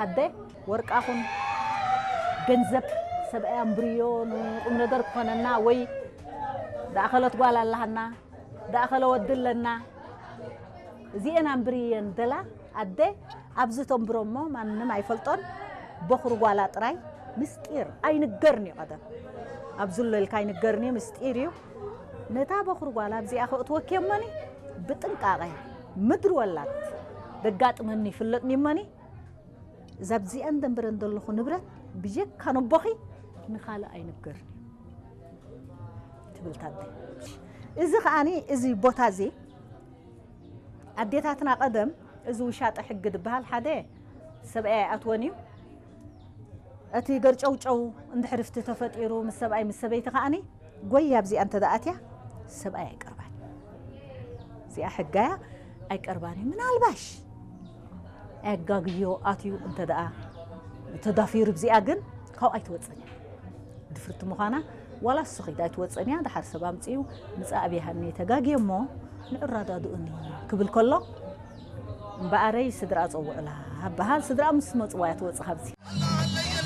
ኣደ፣ ወርቃኹን ገንዘብ ሰብኣይ ኣንብርዮ ንቁም ነገር ክኾነና፣ ወይ ደኣኸለት ጓል ኣላሃና፣ ደኣኸለ ወዲ ኣለና፣ እዚኤን ኣንብርየን ደላ ኣደ ኣብዚ ተንብሮ እሞ ማንም ኣይፈልጦን። በኹሪ ጓላ ጥራይ ምስጢር ኣይንገርን እዩ። ቀደም ኣብ ዝሎ ኢልካ ኣይንገርን እዩ፣ ምስጢር እዩ። ነታ በኹሪ ጓላ ኣብዚኣ ከእትወኪ እሞኒ ብጥንቃቐ ምድሪ ወላት ደጋጥመኒ ይፍለጥኒ እሞኒ፣ እዛ ኣብዚኣን ደንበረን ዘለኹ ንብረት ብጀካ ነቦኺ ንኻልእ ኣይንገርን እዩ ትብል ታደ። እዚ ከኣኒ፣ እዚ ቦታ እዚ ኣዴታትና ቀደም፣ እዚ ውሻጠ ሕጊ ዝበሃል፣ ሓደ ሰብኣይ ኣይኣትወን እዩ። እቲ ገርጨውጨው እንድሕር ፍቲ ተፈጢሩ ምስ ሰብኣይ ምስ ሰበይቲ ከኣኒ፣ ጎይ ኣብዚኣ እንተ ደኣ ኣትያ ሰብኣይ ኣይቀርባን። እዚኣ ሕጋያ ኣይቀርባን እዩ። ምናልባሽ ኣጋግዮ ኣትዩ እንተ ደኣ ተዳፊሩ፣ ብዚኣ ግን ካብኣ ኣይትወጽን እያ። ድፍርቲ ምዃና ዋላ እሱ ኺድ ኣይትወጽን እያ። ደሓር ሰብ ኣምጽኡ ምጻእ ኣብያሃኒ ተጋግየ እሞ ንዕራዳድኡኒ ክብል ከሎ፣ እምበኣረይ ስድራ ጸውዕላ በሃል። ስድራ ምስ መጽዋ እያ ትወጽእ ካብዚ።